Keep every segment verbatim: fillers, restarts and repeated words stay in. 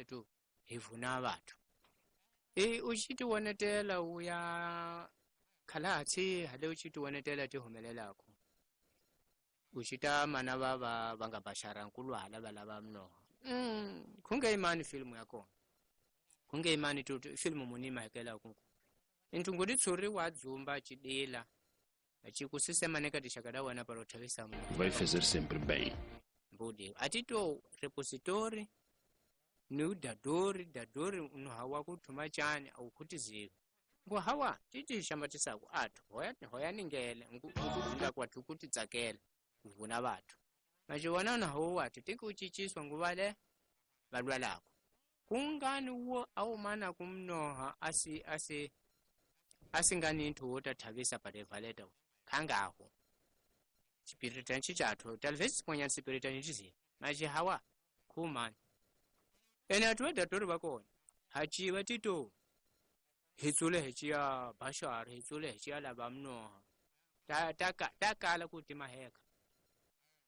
valeta to hi vuna vathu e u xi ti wonetela u ya khalatsi hale u xi ti wonetela ti humelelako u xi ta mana va va va nga baxara nkulwala va lava mnoho mm khunge imani filmu ya kona khunge imani tu filmu munima hekela ku intunguri tsuri wa dzumba chidila achikusisema neka tixaka wena para uthavisa Vai fazer sempre bem. Mbudi atito repositori ni dadori dadori unohawa kuthuma chani au kutiziva ngo hawa titi xamatisaku athu hoya hoya ningele nkukudula kwathu kuti tsakela kuvuna vathu maxiwona na ho wati tiki uchiciswa nguvale valwalako kungani wo awumana kumnoha asi asi asingani nthu wo tathavisa parevaleta khangaho chipiritani chathu talvez siponya sipiritani chizi maji hawa khumani ene athu vedatori vakona hachiva tito hitsule hichiya bashar hitsule hichiya lava mnoha ta ta ta kala kuti maheka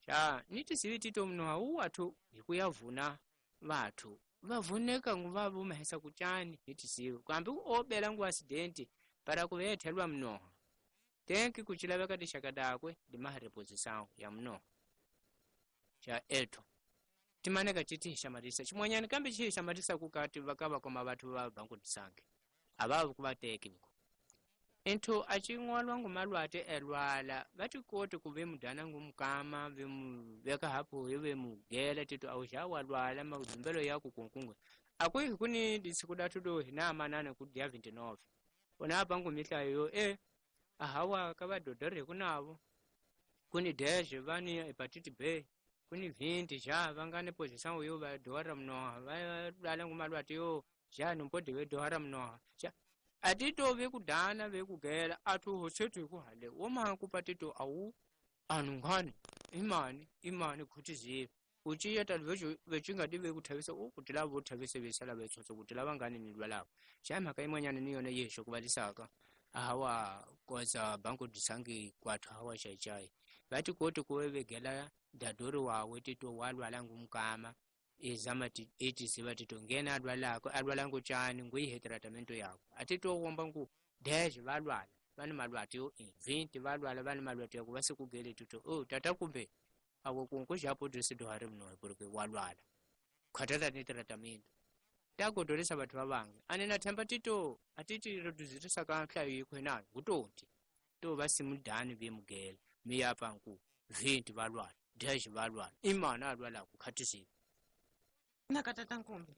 cha nitisivi tito mnoha wu athu hikuya vuna vathu vavuneka nguva vumahesa kuchani nitisivi kambi obela ngu accident para kuvethelwa mnoha tenki kuchilaveka tixaka dakwe dimahareposição ya mnoha cha ethu timaneka titi hixamatisa ximwanyani kambe xi hixamatisa kukati vakava koma vathu va bankutisange avavi kuvateki viko inthu acing'walwa ngumalwate elwala vatikoti kuve mudana ngumukama vemuveka hapuhi vemugela tito auxa walwala mazumbelo yaku kunkunga akwihi kuni disiku datu do hinamanana ku dia vinte e nove unapa ngumihlayo yo e ahawa kavadodore kunavo kuni dez vani hepatite B kuni vinte já vangani posição yo vadohara mnoha valala ngumalwati yo já numpodi vedohara mnoha já atito vekudana vekugela athu hosethu hikuhale womakupa tito awu anungani imani imani khutizive uciya tali vecingati vekuthavisa u kuti lava vothavisa vesala vetsotso kuti lava ngani ni lwalako xa mhaka imwanyana ni yona yexo kuvalisaka ahawa koza banko disangi kwathu hawa xaixai vati koti kuve vegela dadori wawe tito walwala ngumkama izama itisiva tito ngena alwalako alwala nguchani nguihe tratamento yako atito womba ngu dez valwala vani malwati yo vinte valwala vani malwati yako vasikugele tito oh tata kumbe awo kunku xapo disidohari mnohe porque walwala khatata ni tratamento tagodolesa vathu va vange ane na themba tito atiti reduzirisa ka nhlayo yikho nayo ngutoti to va simudani vemugela miyapa nku vinte valwala dez valwala imana alwalako khatisiva na tata Nkumbi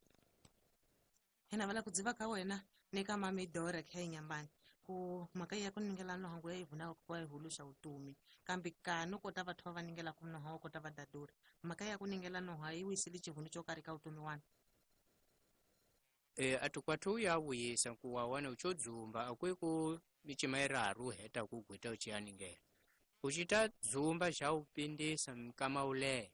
hina vala kudziva ka wena ni ka mamidora kha inyambani ku mhaka ya ku ningela nohangu ya ivunaka ku va yi huluxa vutomi kambe ka no kota vathu va va ningelaka noha wa kota va dadori mhaka ya ku ningela noha yi wisile xihunu xo karhi ka vutomi wani e atukwathu ya vuyisa nkuwa wana ucho dzumba akwiku micima iraru heta kugwita uchiyaningela ucita dzumba xa upindisa mkama ulehe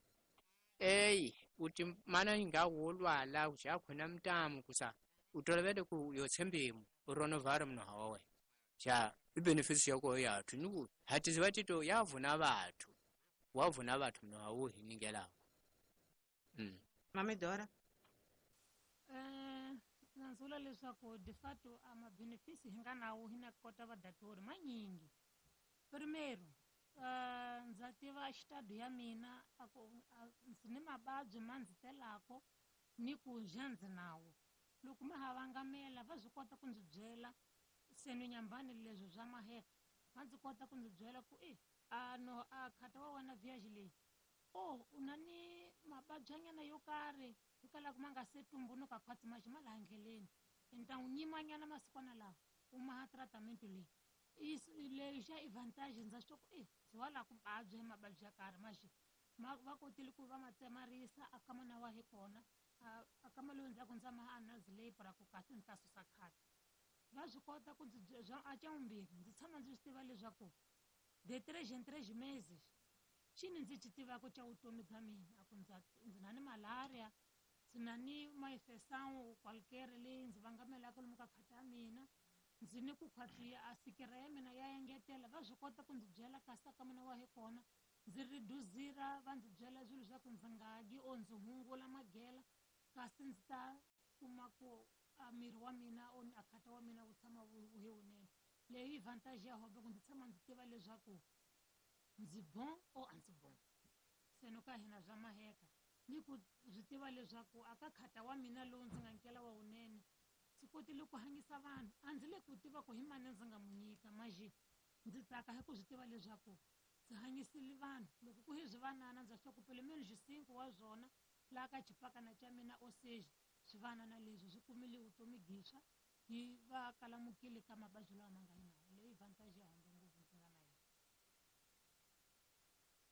eyi uti mana inga wolwala uxakhona mtamu kusa utolovele ku yotshembimu uronovara mnoha wawe xa ibenefits yako yathu niku hatiziva tito yavuna vathu wavuna vathu mnoha wu hiningelako mm. Mamidora eh nanzula leswaku de fato a mabenefisi hi nga nawo hi na kota vadatori manyingi primeiro Uh, ndza tiva xitado ya mina aku ndzi ni mavabyi ma ndzi telako ni ku ja ndzi nawo loko ma ha vangamela va swi kota ku ndzi byela se ni nyambani leswi swa maheka va ndzi kota ku ndzi byela ku e a no a khata wa wena viage leyi o u na ni mavabyanyana yo karhi hikwalaho ma nga se tumbunuka khwatsi maxi ma laha ndleleni ni ta n'wi nyimanyana masikwana lawa u maha tratamento leyi isso leyi xa advantage ndza swi ku e ndzi wa la ku vabya hi mavabyi ya karhi maxi ma va kotile ku va ma tsemarisa a kama na wa hi kona a kama lowu ndzhaku ndza ma anazi leyi para ku kahle ndzi ta susa khale va swi kota ku ndzi a xa vumbirhi ndzi tshama ndzi swi tiva leswaku de tres en tres meses xini ndzi xi tivaka xa vutomi bya mina a ku ndza ndzi na ni malaria ndzi na ni maifesawu qualquer leyi ndzi vangamelaka lomu ka khata ya mina ndzi ni ku khwatsi a sikira ya mina ya engetela va swi kota ku ndzi byela kasi ka mina wa hi kona ndzi reduzira va ndzi byela swilo swa ku ndzi nga dyi or ndzi hungula magela kasi ndzi ta kuma ku a miri wa mina o a khata wa mina wu tshama wu wu wunene. Leyi vantage ya hobe ku ndzi tshama ndzi tiva leswaku ndzi bon o a ndzi bon. Se no ka hina bya maheka ni ku swi tiva leswaku aka khata wa mina lowu ndzi nga nkela wa wunene ndzi kotile ku hanyisa vanhu a ndzi le ku tiva ku hi mani ndzi nga mu nyika maji ndzi tsaka hi ku swi tiva leswaku ndzi hanyisile vanhu loko ku hi swivanana ndza swi ku pelo menos cinco wa swona laha ka xipakana xa mina o seja swivanana leswi swi kumile vutomi byintshwa hi va kalamukile ka mavabyi lawa ma nga nawo. Leyi vantage ya hambe ngopfu ndzi nga na yona.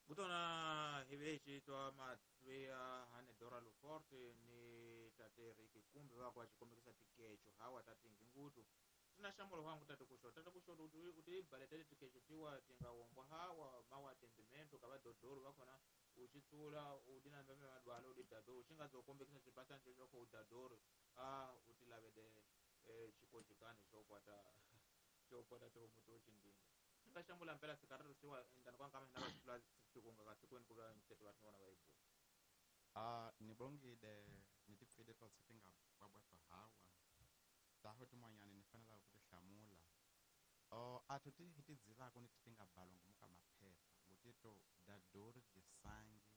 Kutona hivechi twa matsweya hane Dora Luforte ni tate Ricky Kumbe va kwa xikombekisa tikecho hawa tatingi ngutu tina xambulo wangu tate kuxota tate kuxota uti uti baletele tikecho tiwa tinga wombwa hawa mawa atendimento ka vadodoro vakhona uxitsula udina mbeme madwala udi dadoro xi nga zo kombekisa xibasani xo xo udadoro a uti lavele xikojikani xo kwata xo kwata tihomu to xindinga xi nga xambula mpela sikariro siwa endani kwa nkama hina va sikunga ka sikweni ku va nseto va vona va yi bula. Ah nibongile ni tipfile totse ti nga bwabwatwa hawa taho tin'wanyani ni fanelaka ku ti hlamula. Oh a to ti hi ti dzivaka ni ti ti nga balwa ngomu ka maphepha ngutito dador de sangue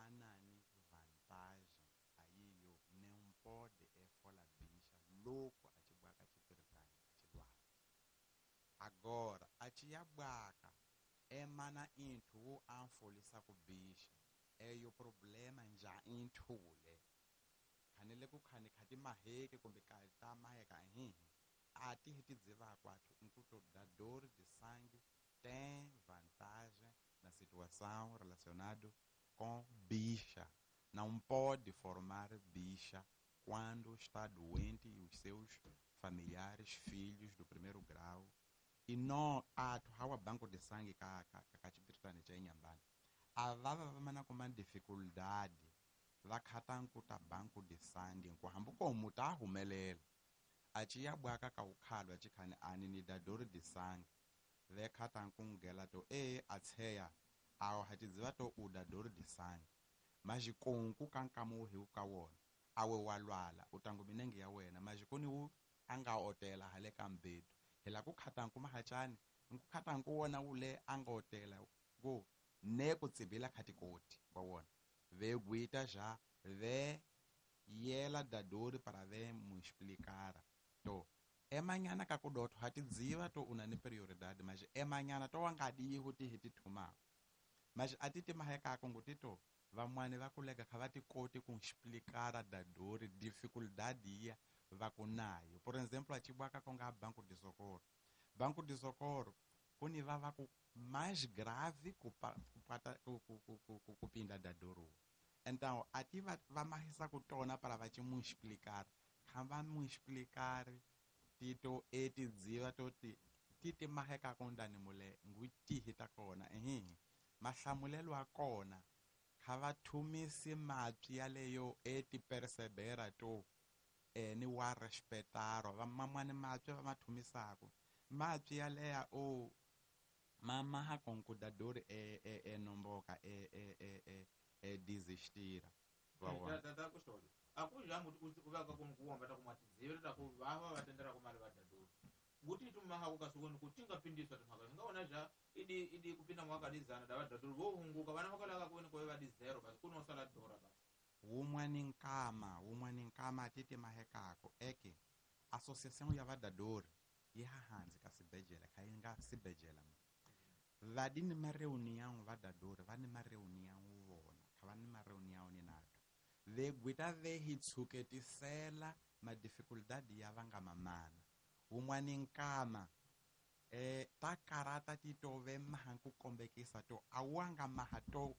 anani vantagem ayiyo nem pode efola bicha loko a ci bwaka xipiritani a ci lwala. Agora a ci ya bwaka emana inthu wo anfolisa ku bicha eyo problema nja inthule khanele ku khani khati maheke kumbe ka ta maheka hihi a ti hi ti dzivaka athu nkuto dador de sangue tem vantagem na situação relacionado com bicha. Não pode formar bicha quando está doente e os seus familiares, filhos do primeiro grau. E não athu hawa banco de sangue ka ka ka xipiritani xa Inhambane a va va va mana kuma dificuldade va khata nkuta banco de sangue nku hambi ko muta a humelela a ci ya bwaka ka ukhalwa ci khani ani ni dador de sangue ve khata nku ngela to e a tsheya awo ha tidziva to u dador de sangue majikonku ka nkama wu hi ka wona awe wa lwala u tangu minenge ya wena majikoni wu a nga otela hale ka mbedu hi la ku khata nku mahachani nku khata nku wona wu le a nga otela ku ne ku tsibila khatikoti wa wona ve guita já ve yela dadori para ve mu explicar to emanyana ka ku dotho ha tidziva to una ni prioridade mas emanyana to wa nga di ho ti hi ti thuma mas a ti ti maheka ku ngutito van'wani va kulega kha va ti koti ku explicar dadori dificuldade ya va ku nayo. Por exemplo a ci bwaka ku nga banco de socorro banco de socorro ku ni va va ku mais grave ku ku ku ku ku pinda dadoro. Então a ti va va mahisa ku tona para va ci mu explicar kha va mu explicar tito e ti dziva to ti ti ti maheka ku ndani mule ngutihi ta kona ehe mahlamulelo a kona kha va thumisi mapyi yaleyo e ti persebera to e ni wa respetaro va mamani mapyi va ma thumisaka mapyi yaleya o mama ha konkudador e e e nomboka e e e e e desistira va wa tata kuxona a ku jangu u va ka ku kuomba ta kuma tidzivela ta ku va va va tendera ku mali va dador nguti tumaha ku kasukweni ku tinga pindiswa timhaka hi nga vona ja idi idi kupinda mwaka dizana da va dador vo hunguka vana va kalaka ku ku va di zero basi ku no sala dora basi wun'wani nkama wun'wani nkama ti ti mahekako eke associação ya vadadori yi hahanzi ka sibejela kha yi nga sibejela va di ni ma reunião vadadori va ni ma reunião vona kha va ni ma reunião ni nato ve gwita ve hi tshuketisela ma dificuldade ya va nga mamana wun'wani nkama eh ta karata ti to ve maha ku kombekisa to a wa nga maha to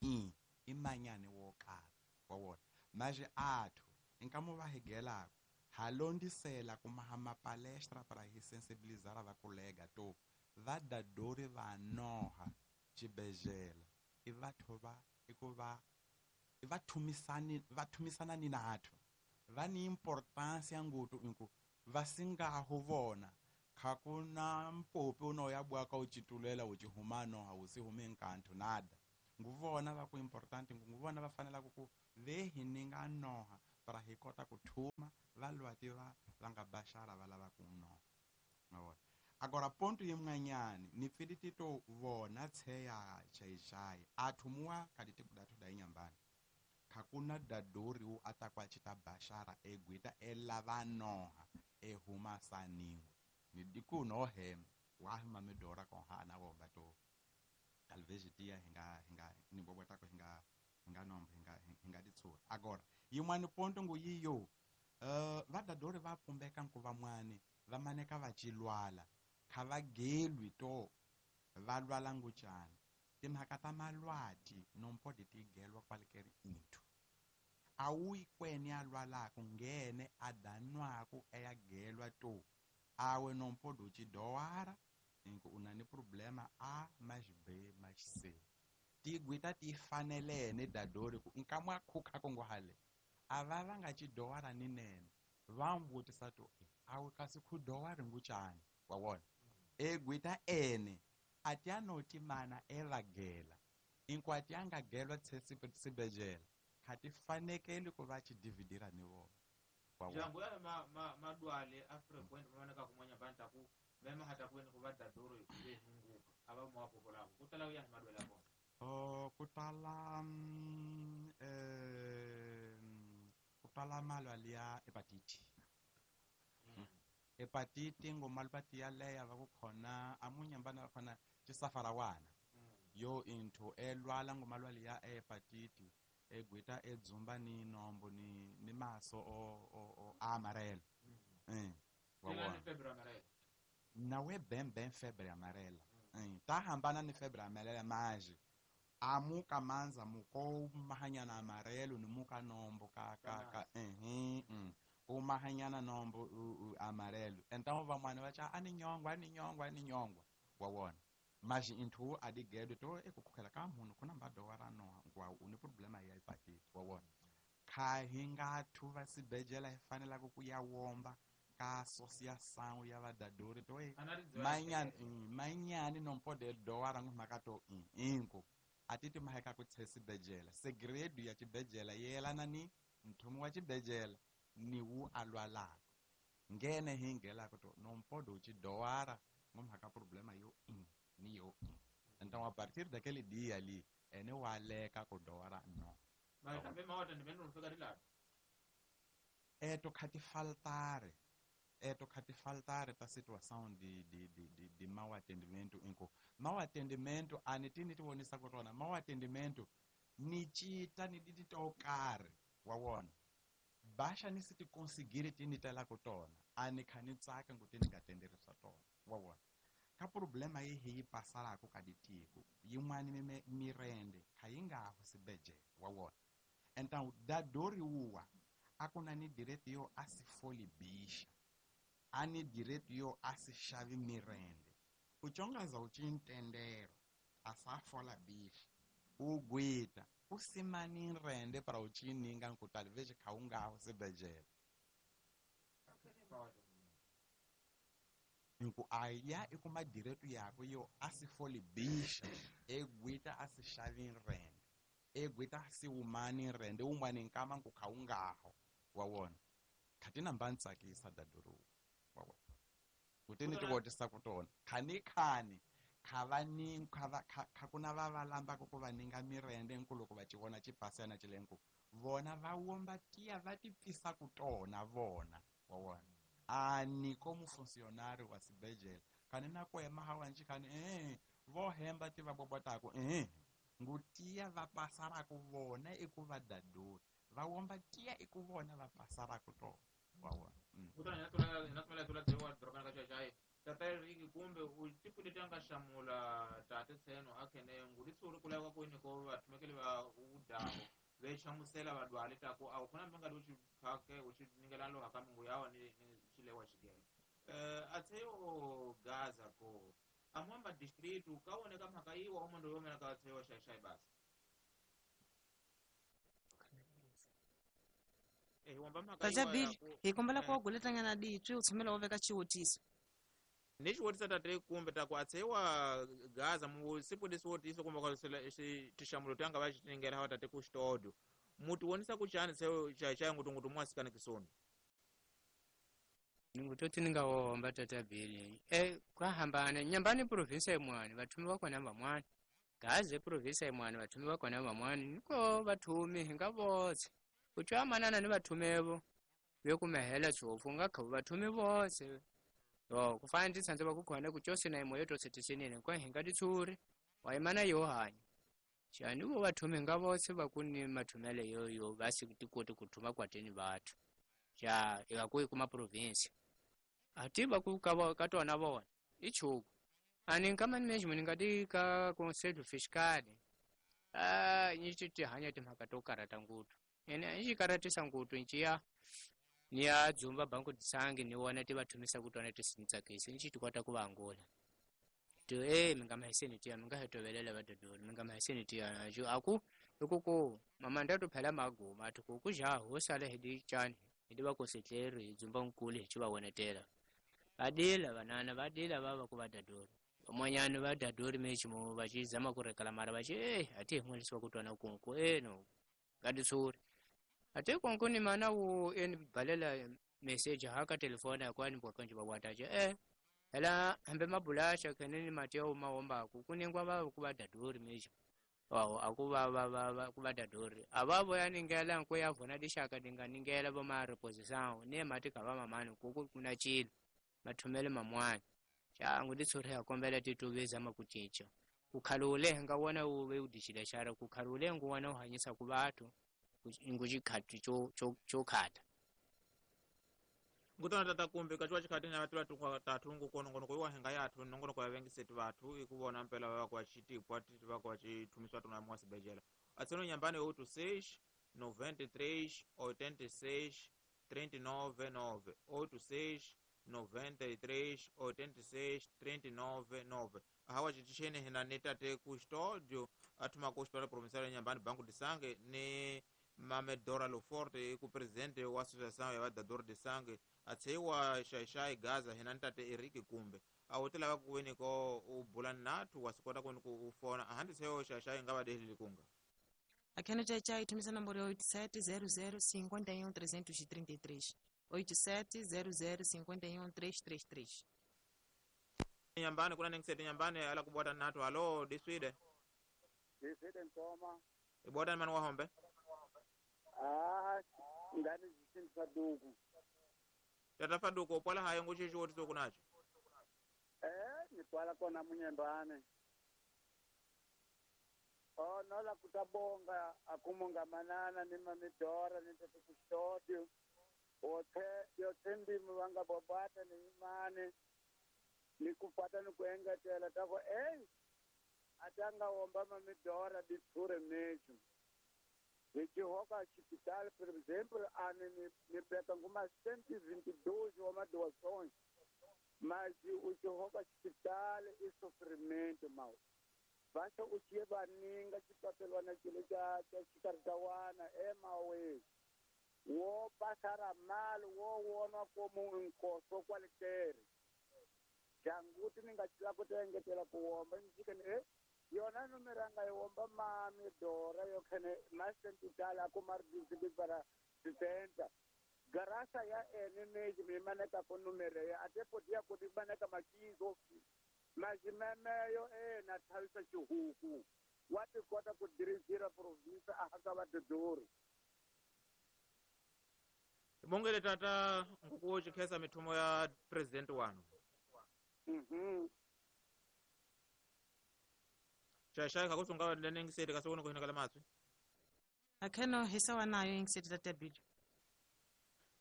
i i manyani wo kala wa wona maje athu nkamo va higelako ha londisela ku maha ma palestra para hi sensibilizar va kolega to va dadori va noha xibejela i vatho va i ku va i va thumisani va thumisana ni natho va ni importancia ngutu inku va singaho vona kha ku na mpopi uno ya bwaka u citulela u cihumano ha u si hume nkanto nada nguvona va ku important nguvona va fanela ku ku ve hi ninga noha para hi kota ku thuma va tiva va nga baxara va lava ku no ma vona. Agora ponto yimwanyani ni pfili tito vona tsheya Xai-Xai athumuwa kaditi kudatu da inyambani khakuna dadori u atakwa chita bashara egwita elavanoha ehuma saniwe ni dikuno hem wahima medora ko hana wo bato talvez dia hinga hinga ni bobota ko hinga hinga nombe hinga hinga ditsura. Agora yimwani ponto ngo yiyo uh, vadadori va pumbeka nkuva mwani va maneka va chilwala kha va gelwi to va lwala nguchana timhaka ta malwati nompodi ti gelwa kwalikeri into awuyi kweni a lwalako ngene a danwaku eya gelwa to awe nompodi uchidowara inko unani problema A mais B mais C tigwita ti fanelene dadori ku nkamwa khukha kongo hale ava va nga chidowara ni nene va mvutisa to awe kasi khudowari nguchani wa wona egwita ene atianoti mana evagela inkwati angagelwa tsesibejela khati fanekele ku va chidividira ni vona. Jangu ya ma ma madwale a frequent maoneka kumwanya banta ku mema hata kweni ku va dadoro le hunguka ava mo apokola ku tala ya madwale ya kona oh kutala mm, eh kutala malwale ya hepatitis. Mm. Hepatiti ngomalupati ya leya va ku khona amunyambana va khona chisafarawana. Mm. Yo into elwala ngomalwale ya hepatiti egwita edzumba ni nombo ni ni maso o o, o amarelo. Mm. Eh wa febre amarela nawe bem bem febre amarela. Mm. Eh ta hambana ni febre amarela maji amuka manza muko mahanyana amarelo ni muka nombo ka ka ka eh eh umahanyana nombo u, u, amarelo. Então vamwana vacha ani nyongwa ani nyongwa ani nyongwa wa wona mas into adigedo to ekukhukhela ka munhu kuna mbadowara no ngwa une problema ya hepatitis wa wona kha hinga thuva sibejela hi fanela ku ya womba ka associação ya vadadori to manyani manyani nompode dowara ngumhaka to inko atiti maheka ku tsesibejela segredo ya chibejela yelana ni nthumu wa chibejela ni wu alwalako ngene hingelako to nompodo chidowara ngumhaka problema yo ni yo. Então a partir daquele dia ali ene waleka ku dowara no mas também maota ndi meno fika rilado eto khati faltare eto khati faltare ta situação de de de de, de mau atendimento inko mau atendimento anitini tivonisa ku tona mau atendimento ni chita ni diti to karhi wa wona basha ni si ti conseguir ti ni tela ku tona ani kha ni tsaka ngu ti ni nga tenderisa tona wa wona ka problema yi hi yi pasarako ka ditiko yin'wani mirende kha yi nga ho sibejele wa wona. Então dadori uwa akuna ni direito yo a si foli bixa ani direito yo a si xavi mirende uchongaza uchintendero a sa fola bixa ugwita usimani rende para uchininga nku talvez kha u nga ho sibejele nku aya ikuma direito yako yo a si foli bixa egwita a si xavi rende egwita si umani rende umani nkama nku kha u ngaho wa wona khatina mba ntsakisa daduru wa wona kutini tivotisa ku tona khani khani kha va ni kha va kha kuna va va lambaka ku va ninga mirende nkuloko va chivona chipasana chilenku vona va womba tiya va ti pfisa ku tona vona wa wona ani como funcionário wa sibejela khani na kwema hawanji khani eh vo hemba ti va bobotako eh ngutiya va pasarako vona eku va dadori va womba tiya eku vona va pasarako tona wa wona. Kutani na na tumela tula tsewa drokana ka Xai-Xai tata Riki kumbe u tipule tanga xamula tate tseno akhene nguli tsuri kula ka kwini ko va thumekele va udaho ve xamusela vadwale ta ku a ku na mbanga lu chiphake u chi ningela lo haka mungu yawa ni chilewa chigela eh atseyo Gaza ko amwamba district ka woneka mhaka yiwa omondo yomena ka atseyo Xai-Xai basi eh wamba mhaka Tata Bill hi kombela ku guletanyana ditwi u tshemela u veka xiwutiso ni xiwutiso tate kumbe ta ku atsewa Gaza mu siku lesi wotiso kumbe ka tixamulo tanga va xiningela hawa tate ku xitodo muti wonisa ku chani tseyo Xai-Xai ngutungutu mwasikana kisoni. Ningutoti ningawomba tata Bili e kwahambana nyambani province imwani vathumi vakona vamwani gaze province imwani vathumi vakona vamwani niko vathumi hinga votse kutswa manana ni vathumevo vekumehela tshofu nga khavu vathumi votse yo kufana nditsanze vakukhona kutyose na imo yotose tisinene kwa hinga titshuri waimana yo hanya xani vo vathumi hinga votse vakuni mathumele yoyo vasi tikoti kuthuma kwateni vathu xa ikakuyi kuma province ati vaku ka ka tona vona i chuku ani nka management ni nga ti ka conselho fiscal a ni ti ti hanya timhaka to karata nguthu ene ni xi karatisa nguthu nciya ni ya dzumba banku tisangi ni wona ti va thumisa ku tona ti si ni tsakisi ni xi ti kota ku va angula ti e mi nga mahiseni tiya mi nga he tovelela vadodori mi nga mahiseni tiya xo aku i ku ku mamanda to phela maguma athi ku ku ja ho sala hi di cani hi di va kosetleri hi dzumba nkulu hi xi va wonetela va dila vanana va dila va va ku va dadori van'wanyani va dadori meximo va xi zama ku rekela mara va xi e a ti hi n'welisiwa ku twana kunku eno ka titshuri a ti kunku ni mana wu e ni balela message ha ka telefoni ya kwani bwa kanji va wata xi e hela hambe mabulaxa khene ni mati ya ma wombaku ku ningwa va ku va dadori meximo wawo a ku va va va va ku va dadori a va voya ningela nko ya vona dixaka dinga ningela vo ma reposição ne mati ka va mamani ku ku kuna cilo mathumele mamwani xa ngu titshuri ya kombela tituve zama ku cinca ku khalule nga wona wu ve u dixile xara ku khalule ngu wona u hanyisa ku vathu ngu xikhati xo xo xo khata ngutona tata kumbe kaciwa xikhati na vatu vatu tathu ngu kono ngono kuyiwa hinga yathu nongonoko ya vengiseti vathu i ku vona mpela va kwa xitipwa ti va kwa xithumiswa tona mwa sibejela atseno nyambani oito seis noventa e três oitenta e seis trinta e nove nove oito seis noventa e três oitenta e seis trinta e nove nove hawa xitixeni hina ni tate custódio athuma ku hospital provincial ya nyambani banco de sangue ni Mame Dora Loforte ku presidente wa associação ya vadador de sangue atseiwa xaixai Gaza hina ni tate Eric Kumbe a wu ti lava ku veni ko u bula nathu wa swi kota ku ni ku u fona a handle seyo xaixai nga va deheli kunga Akheno chai thumisa nomboro ya oito sete zero zero cinquenta e um trezentos e trinta e três oito sete zero zero cinquenta e um três três três Nyambani kuna ningisete nyambani ala kubota nathu halo diswide Diswide ntoma ibota mani wa hombe Ah, ngani zisini faduku. Tata faduku upwala hayo nguchichi woti sokunacho. Eh, nitwala kona munyembane. Oh, nola kutabonga akumunga manana ni mamidora ni tete kustodi. Wote yote ndimu wanga bobata ni imani. Nikupata nikuenga tela tako eh atanga womba mamidora ditsure mechu. Ndichihoka hospital, por exemplo, ani ni peka nguma cento e vinte e dois uma doações, mas o chihoka hospital e sofrimento mau. Basta o que baninga chipapelwana chile cha cha chikartawana e mawe. Wo passará mal, wo wona como um encosto qualquer. Janguti ninga chila kutengetela kuomba njikene eh yona numeranga yomba mami dora yokhene masentitala kumardisi para sitenta garasa ya ene neji mimaneka ko numere ya ate podia ko dimaneka makizo majimemeyo e na thalisa chihuku wati kota ku dirigir province a haka va dodori Bongele tata ngukuwo chikhesa mithumo ya president wanu mhm Xaxai kakusunga lenengiseti kasokona kuhinakala matswi Akheno hisawa nayo ingiseti tata Bili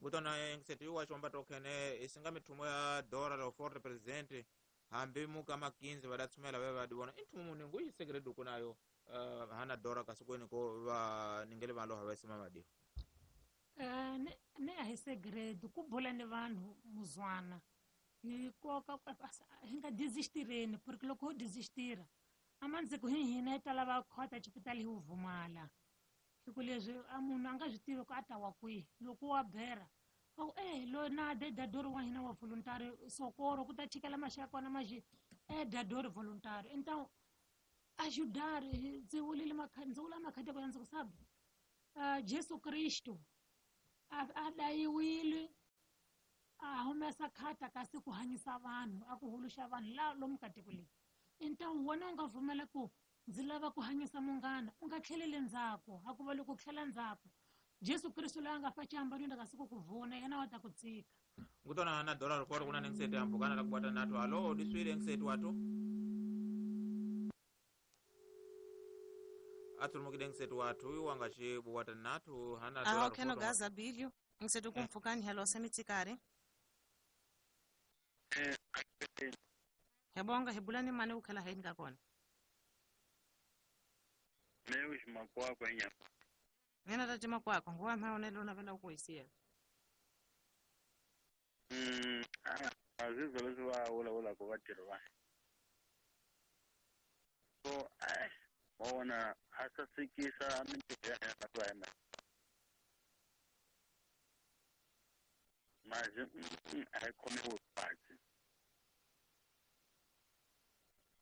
Ngutona ingiseti wa chomba tokhene isinga mithumo ya Dora Loforte president hambi muka makinzi vadatsumela ve vadiwona inthumo muni nguyisekele duku nayo uh, hana Dora kasokweni ko va ningele valoha va sima vadiwa Eh ne ne a hi segredo ku bula ni vanhu muzwana hi koka hi nga desistireni porque loko ho desistira amandziko hi hina hi ta lava khota xipitali hi wu vumala hi ku leswi a munhu a nga swi tivi ku a ta wa kwihi loko wa bera a ku eh loyi na de dadori wa hina wa voluntary socorro ku ta chikela maxaka na maxi eh dadori voluntary então ajudar ndzi vulile ndzi vula makhadi ya ndzi ku sabe uh, Jesu Kristo a dayiwile a humesa hangalasa khata kasi ku hanyisa vanhu a ku huluxa vanhu la lomu ka tiko leyi então wena u nga pfumela ku ndzi lava ku hanyisa munghana u nga tlheleli ndzhaku a ku va loko tlhela ndzhaku Jesu Kristu loyi a nga fa xihambanweni kasi ku ku vona yena wa ta ku tsika ngutona na dollar koro kuna nengisete ambukana la kubata nato alo diswile ngisete watu atulumukile ngisete watu uyu wanga chibu wata natu hana aho dollar kheno koro gaza bilio ngisetu kumpfukani hello semitsikari Eh, hebonga hebulani mane ukhela haini ka kona Leo ximakwakwa enyama nena tati makwakwa nguwa maonelo navela ukuisiya Mm, ah, azizwa leswi va vulavulaka vatirhi va so ai wa vona a sasekisa mintirho ya hina va hina mazi mm, a yi khomiwi kahle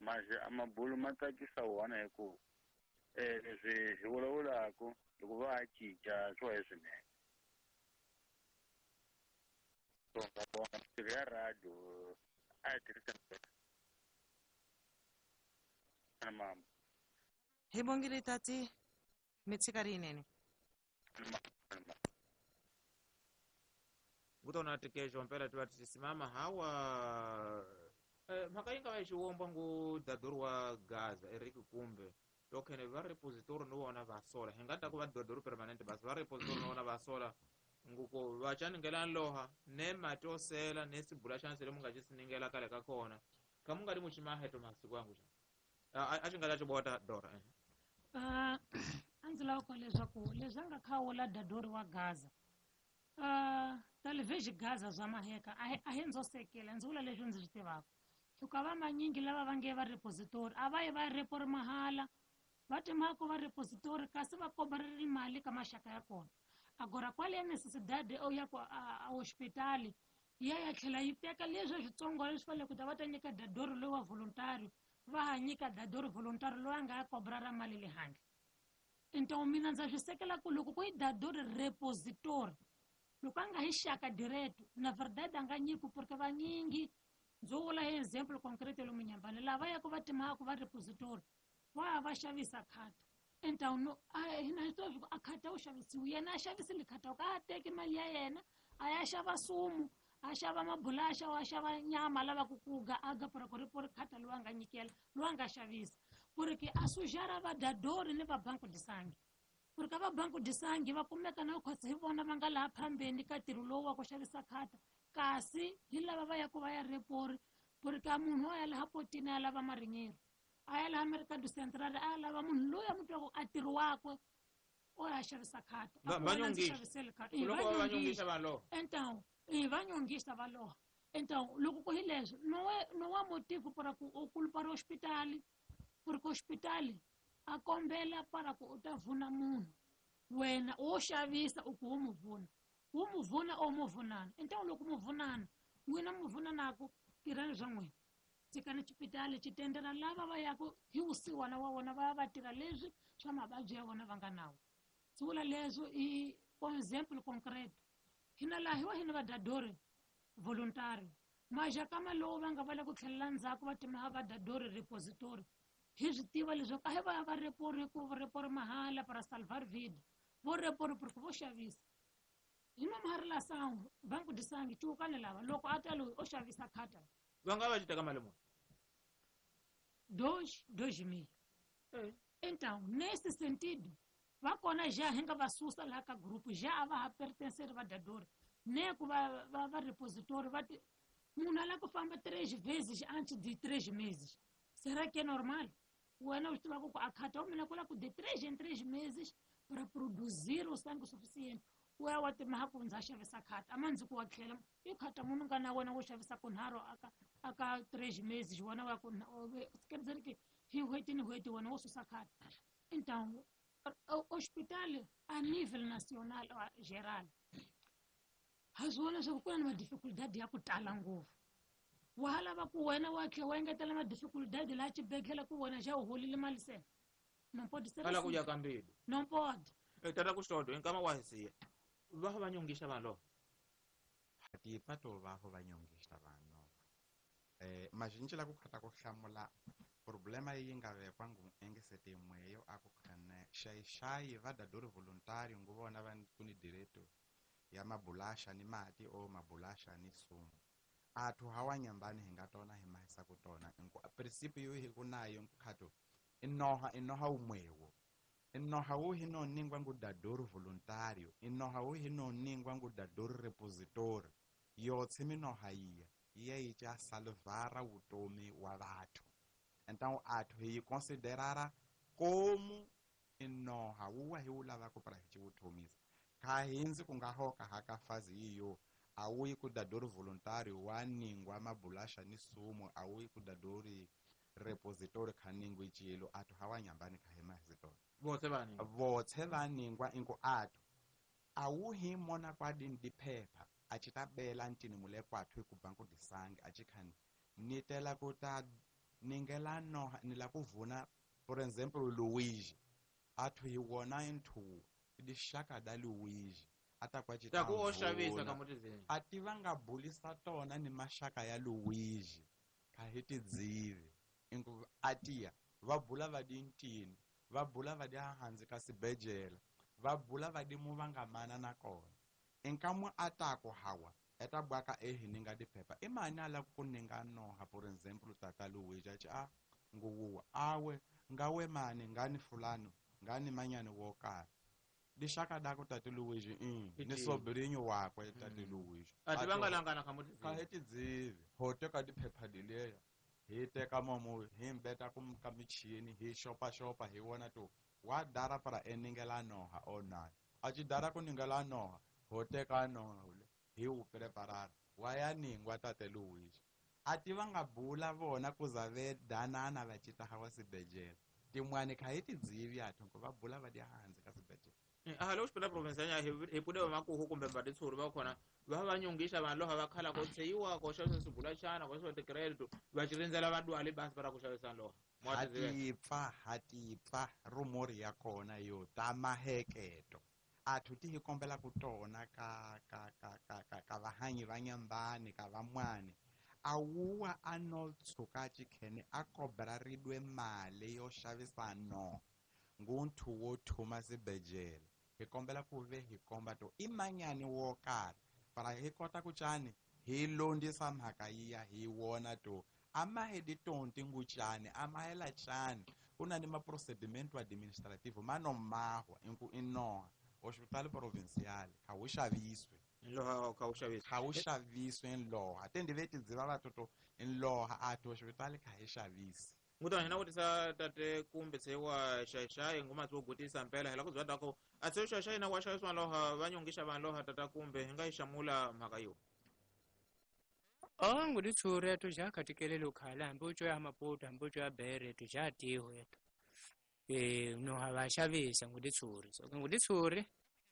mazi a mabulu ma tsakisa wona hi ku eh leswi hi vulavulaka loko va cinca swo hi swinene so nga vona mintirho ya radio a yi tirhisa na mama hibongile tati mitsikari inene ngutona tikejo mpela tiva tisimama hawa eh, mhaka yi nga va xiwomba ngu dadori wa gaza Eric Kumbe tokhene va repository no vona va sola hi nga ta ku va dadori permanent basi va repository no vona va sola nguko va chaningela loha ne mati osela ne sibula xana sele munga xi siningela kale ka kona ka mu nga ri muximaheto masiku yangu xa a a xi nga ta xi bota dora eh. Ah, a ndzi lava ku leswaku leswi a nga khawula dadori wa gaza uh, talvez gaza zwa maheka a hi- a hi ndzo sekela ndzi vula leswi ndzi swi tivaka hikuva va manyingi lava va nge va repository a va yi va repori mahala va timhaka va repository kasi va kobareli mali ka maxaka ya kona agora qual é a necessidade eu ya ku a, a hospitali ya ya tlhela yi teka leswi switsongo leswi fanele ku ta va ta nyika dadori loyi wa voluntário va ha nyika dadori voluntário loyi a nga ya kobra ra mali le handle então mina ndza swi sekela ku loko ku yi dadori repository loko a nga hi xaka direto na verdade a nga nyiki porque vanyingi ndzo vula hi example concrete lomu nyambani lava yaka va timhaka va repository va ya va xavisa khata então no a hina hi tiva swa ku a khata wu xavisiwi yena a xavisile khata ka a teki mali ya yena a ya xava sumu a xava mabulaxa a xava nyama lavaku ku ga aga para ku ri khata loyi a nga nyikela loyi a nga xavisa porque a sujara va dadori ni va banco de sangue porque va banco de sangue va kumeka na khosi hi vona va nga laha phambeni ka ntirho lowu wa ku xavisa khata kasi hi lava va yaku va ya repori porque a munhu a ya laha potini a lava marinheiro a ya laha Mercado Central a ya lava munhu loyi a mu twaku a ntirho wakwe o ya xavisa khata Va- A ku wena ndzi vanyongisa. xavisele khata. Eh, loko va vanyongisa. vanyongisa vanhu loha Então, eh, vanyongisa va loha então loko ku hi leswo no é não há motivo para ku u culpar o hospital porque o hospital a kombela para ku u ta vuna munhu wena wo xavisa u ku wo mu vuna wo mu vuna o mu vunana então loko mu vunana n'wina mu vunanaku tirhani swa n'wina tshikani xipitali xi tendela lava va yaku hi vusiwana wa vona va ya va tirha leswi swa mavabyi ya vona va nga nawo ndzi vula leswo i for example concreto hina laha hi wa hina vadadori voluntary maxakama lowu va nga va le ku tlhelela ndzhaku va timaha vadadori repository hi swi tiva leswaku a hi va ya va repori ku repori mahala para salvar vida vo repori porque vo xavisa hi nomaharelação banco de sangue cuukani lava loko a ta loyi o xavisa khata va nga va xi teka mali muni dois dois mil então nesse sentido va kona já hi nga va susa laha ka grupo já a va ha pertencer vadadori ne ku va va va repositori va ti munhu a lava ku famba três vezes antes de três meses será que é normal wena u swi tivaka ku a khata wa mina ku lava ku de três em três meses para produzir o sangue suficiente u ya wa timaha ku ndza xavisa khata a ma ndzi ku wa tlhela i khata munhu nga na wena wo xavisa kunharhu aka aka três meses wena wa ku quer dizer que hi n'hweti ni n'hweti wena wo susa khata então o hospital a nível nacional ó, geral ha swi vona leswaku ku na ni madificuldade ya ku tala ngopfu wa ha lava ku wena wa tlhe wa engetela madificuldade laha xibedhlele ku wena xa u holile mali se não pode ser va lava ku assim ya ka mbilu não pode Eh, tata ku xodo hi nkama wa hi siya va va nyongisa vanhu loha Hatipa to vaho vanyongista vanhu. Eh majinji la ku khata ku hlamula problema yi nga vekwa ngu engesete mweyo akukhane xaixai va dadori voluntario ngu vona va kuni direto ya mabulasha ni mati o mabulasha ni sumu. Athu hawa nyambani hi nga tona hi mahisa ku tona nku principio hi ku nayo nkukhato inoha inoha umwewo inoha wu hi no ningwa ngu dadori voluntario inoha wu hi no ningwa ngu dadori repository yotse minoha iya iya yi cha salvara utomi wa vathu. Então athu hi considerara como inoha wuwa hi wulava ku para hi chivutomisa kha hinzi ku nga hoka haka fazi iyo awuyi ku dadori voluntario wa ningwa mabulasha ni sumo awuyi ku dadori repository kha ningwi chilo athu hawa nyambani kha hema hizitona votse vani votse vaningwa inko athu awuhi mona kwa dindi phepha achitabela ntini mule kwathu ku banku disangi achikhani nitela kuta ningela no nila kuvuna for example Luigi athu hi wona inthu dishaka da Luigi atakwachita ku o xavisa ka mutizeni ativa nga bulisa tona ni mashaka ya Luigi kha hi tidzivi ingu atia va bula va dintini va bula va dia hanzi ka sibejela va bula va dimu va nga mana na kona enkamwe atako hawa eta bwaka ehi ninga diphepha imani ala ku ninga noha for example tata Luigi achi a nguwa awe ngawe mani ngani fulano ngani manyani wokara dishaka dako tata Luigi mm ni sobrinho wakwe tata Luigi ati vangalangana kha mutizeni kha hetidzivi ho teka diphepha dileya hi teka momo hi mbeta ku ka michini hi xopa xopa hi wona to wa dara para eningela noha ona achi dara ku ningela noha ho teka noha ule hi wu preparara wa ya ningwa tate Luigi ati va nga bula vona ku za ve danana va cita hawa sibejela tin'wani kha hi tidzivi athu ku va bula va di hansi ka sibejela aha loko xipela province ya hi pune va makuhu kumbe va titshuri va khona va va nyongisa vanhu lava va khala ko tsheyiwa ko xavisa swibulaxana ko xavisa ti-credit va xi rindzela va dwale basi va ra ku xavisa loha hatipfa hatipfa rumori ya kona yo ta maheketo athu ti hi kombela ku tona ka ka ka ka ka ka vahanyi va nyambani ka van'wani awuwa a no tshuka chikhene a kobra ridwe mali yo xavisa no ngunthu wo thuma sibejela hi kombela ku ve hi komba to i manyani wo karhi para hi kota ku cani hi londisa mhaka yiya hi wona to a mahedi tonti ngucani a mahela cani ku na ni maprocedimento administrativo ma no mahwa inku inoha hospital provincial kha wu xaviswe nloha kha wu xaviswe kha wu xaviswe nloha tende ve tidziva vatoto nloha athu hospital kha hi xavisi ngutana hina vutisa tate kumbe tshewa xaixai ngoma tso gutisa mpela hela ku bya dako a tshewa xaixai na wa xaviswa loha va nyongisha vanhu loha tata kumbe hi nga yi xamula mhaka yo o ngudi tshure to ja khatikelelo khala hambi u ya mapoto hambi u ya bere to ja tiho yeto eh no ha va xavisa ngudi tshure so ngudi tshure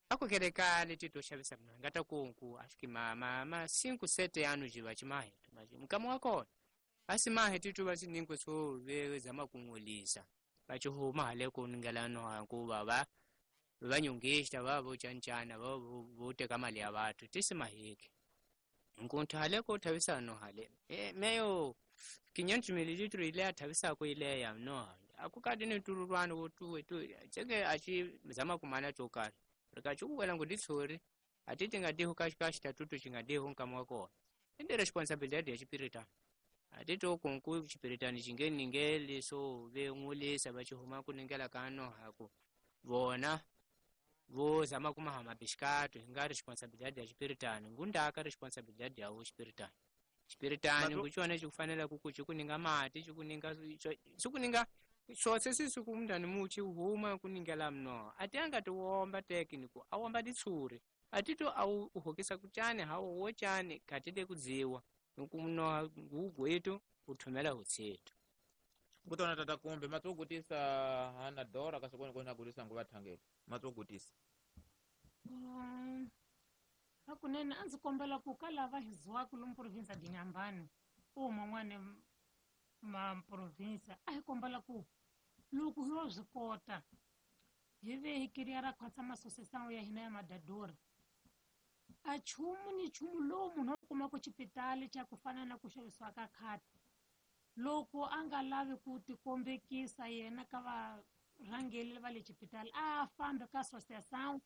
akukelekale tito xavisa mna ngata kunku ashiki mama ma cinco sete anos de batimahe mukama wa kona asimahe tito basiningo so ve zama kungulisa bachihuma hale kuningela no kuba ba vanyongista vavo chanchana vavo voteka mali ya bathu tisimaheke nkunthu hale ko thavisa no hale e meyo quinhentos mililitros ile athavisa ko ile ya no akukati ni tururwano wo tuwe tu cheke achi zama kumana chokari rikachukuwela nguditsuri atiti ngadiho kashikashitatutu chingadiho nkamwa kona inde responsabilidade ya chipiritani atiti okunku chipiritani chingeningeli so veng'ulisa vachihuma kuningela kano hako vona vozama kumahama bishikato hinga responsabilidade ya chipiritani ngundaka responsabilidade yawo chipiritani chipiritani nguchona chikufanela kuku chikuninga mati chikuninga chikuninga shotse sisi kumndani muchi huma kuningela mno ati angatiwomba tekiniku awomba ditsuri atito au uhokisa kuchane hawo wochane katide kudziwa nukumno ngugwetu uthumela utsetu kutona tata kumbe matsogutisa hana dora kasokoni kona gutisa nguva thangela matsogutisa Um, hakunene a ndzi kombela ku ka lava hi ziwaka lomu province ya Inhambane u man'wana ma province a hi kombela ku loko hi yo swi kota hi ve hi kiriya ra khotsa masosesano ya hina ya madadori a chumu ni chumu lowu munhu a kumaka xipitali xa ku fana na ku xavisiwa ka khata loko a nga lavi ku tikombekisa yena ka varhangeli va le xipitali a fambe ka associação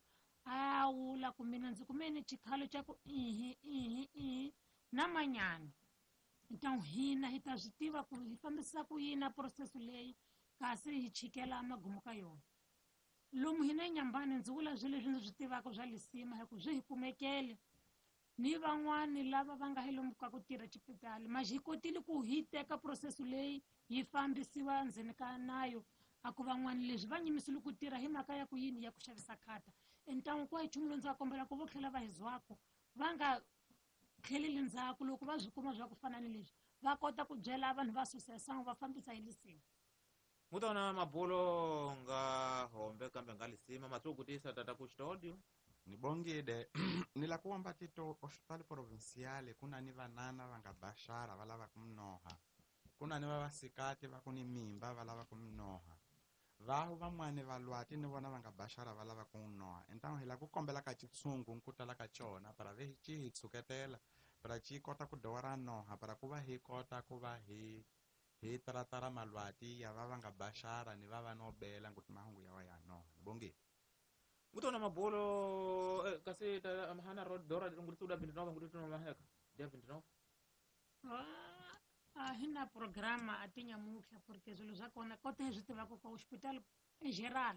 a wula ku mina ndzi kumene xikhalo xa ku ihi ihi ihi na manyana. Então hina hi ta swi tiva ku hi fambisa ku yini na proseso leyi kasi hi chikela magumu ka yona. Lomu hina eNyambani ndzi vula swilo leswi ndzi swi tivaka swa lisima hi ku swi hi kumekele ni van'wani lava va nga hi lomu ka ku tirha xipitali mas hi kotile ku hi teka proseso leyi yi fambisiwa ndzeni ka nayo a ku van'wani leswi va nyimisile ku tirha hi mhaka ya ku yini ya ku xavisa khata. Então ku nchumu lowu ndzi va kombela ku vo tlhela va hi zwako va nga tlheleli ndzhaku loko va swi kuma swa ku fana ni leswi va kota ku byela vanhu va association va fambisa hi lisima. Mutona mabulo nga hombe kambe nga lisima matsukutisa tata ku studio nibongile ni la kuamba tito hospital provincial kuna ni vanana va nga bashara va lava kumnoha kuna ni vavasikati va ku ni mimba va lava kumnoha vahu van'wani va lwati ni vona va nga bashara va lava kumnoha. Então hi la ku kombela ka xitshungu ku tala ka xona para ve xi hi tshuketela para xi kota ku dora noha para ku va hi kota ku va hi hi taratara malwati ya va va nga bashara ni va va no bela nguti mahungu ya wa ya noha. Nibongile mutona mabulo eh, kasi ta hana ro dora ngutsu da vinte e nove ngutsu no maheka dia vinte e nove a hina programa a ti nyamutlha porque swilo swa kona kota hi swi tivaka ka hospital in geral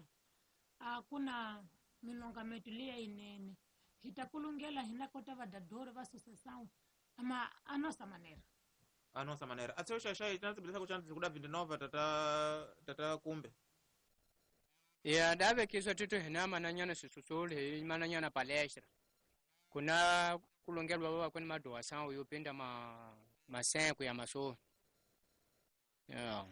a ku na milongameto leya yinene hi ta kulungela hina kota vadadori va associação ama a nossa maneira a nossa maneira a tsho xa xa tina tsibilisa ku xana kuda vinte e nove tata tata kumbe ya dave kiswa tutu hina mananyana sisusuli hi mananyana palestra kuna kulongelwa baba kwani madoação yopinda ma masenko ya maso ya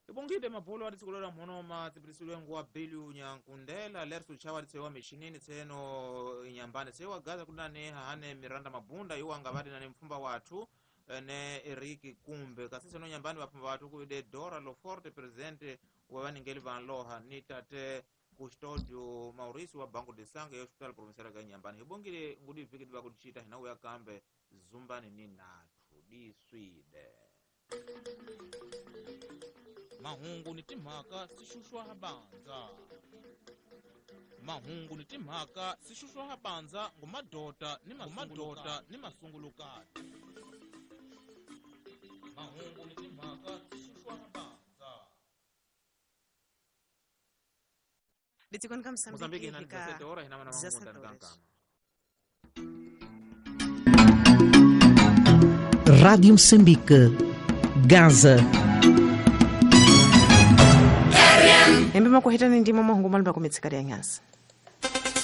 ibongile mabulo wa tsikolola mhono ma tsibilisile nguwa bilu nyankundela lerso chawa tsewa mishinini tseno inyambane tsewa gaza kunane hane Miranda Mabunda iwa ngavati nane mfumba wathu ne Eric Kumbe kasi tseno nyambani vapfumba wathu ku de Dora Loforte presidente wa vaningeli va Loha ni tate Custodio Mauricio wa Banco de Sangue ya Hospital Provincial ka Nyambani hibongile ngudi vhiki va ku chita hina uya kambe zumbani ni nathu diswide mahungu ni timhaka sixuxwa bandza mahungu ni timhaka sixuxwa bandza ngumadota ni mamadota ni masungulukati mahungu ni timhaka sixuxwa bandza Litsikoni ka Mozambique Mozambique hina fika dezessete horas hina mana dezessete mahungu horas. kankama. Rádio Moçambique, Gaza. Hembe makuhitani ndimo mahungu malumba kumitsikari ya nyasa.